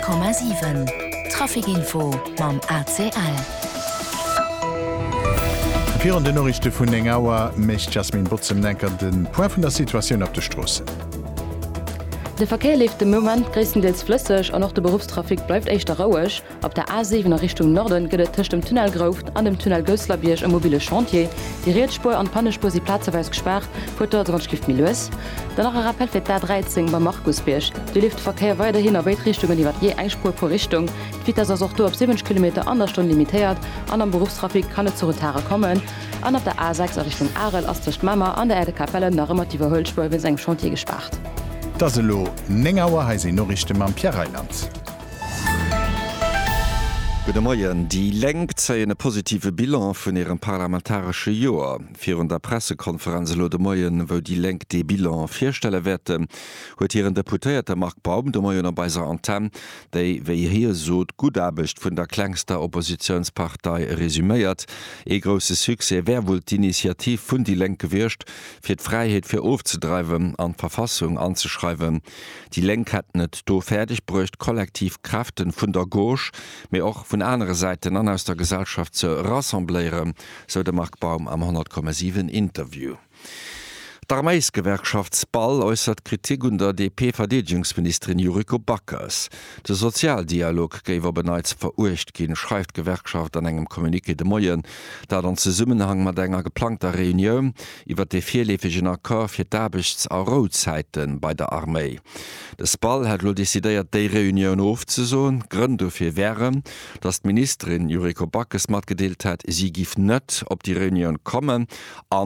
100,7 Trafic Info mam ACL. Virun den Noriichte vun 9 Auer mécht d'Jasmine Botz em Enker de Point vun der Situatioun op de Stroossen. De Verkéier leeft de Moment gréisstendeels flësseg an och de Beruffstrafic bleift éischter roueg. Op der A7 a Richtung Norden gëtt et tëscht dem Tunnel Grouft an dem Tunnel Gousselerbierg e mobile Chantier. Déi riets Spuer an d'Pannespuer si plazeweis gespaart, fuert do also wann d'Schlift méi lues. Dann nach e Rappel fir d'A13 beim Markusbierg, Do leeft de Verkéier weiderhin a béid Richtungen iwwer jee eng Spuer pro Richtung. D'Vitess ass och do op 70 Kilometer an der Stonn limitéiert an am Beruffstrafic kann et zu Retarde kommen. An op der A6 a Richtung Arel ass tëscht Mamer an der Aire de Capellen nach ëmmer d'Iwwerhuelspuer wéinst engem Chantier gespaart. Et ass elo 9 Auer, hei sinn Noriichte mam Pierre Reyland. Gudde Moien. Déi Lénk zéien e positive Bilan vun hirem parlamentaresche Joer. Virun der Pressekonferenz elo de Moien, wou déi Lénk dee Bilan virstelle wäerten, huet hiren Deputéierte Marc Baum de Moien op eiser Antenn déi, wéi hie sot, gutt Aarbecht vun der klengster Oppositiounspartei resuméiert. Ee grousse Succès wär wuel d'Initiativ vun déi Lénk gewiescht, fir d'Fräiheet fir ofzedreiwen an d'Verfassung anzeschreiwen. Déi Lénk hätten et do fäerdeg bruecht, kollektiv Kräften vun der Gauche, mee och vun anere Säiten an aus der Gesellschaft ze rassembléieren, sou de Marc Baum am 100,7 Interview. D'Arméisgewerkschaft SPAL äussert Kritik un der DP-Verdeedegungsministerin Yuriko Backes. De Sozialdialog géif op en Neits veruecht ginn, schreift d'Gewerkschaft an engem Communiqué de Moien. Dat an Zesummenhang mat enger geplangter Reunioun iwwer de virleefegen Accord fir d'Aarbechts a Rouzäite bei der Arméi. De SPAL hätt elo decidéiert, déi Reunioun ofzesoen. Grënn dofir wären, datt d'Ministerin Yuriko Backes matgedeelt hätt, si giff net op déi Reunioun kommen.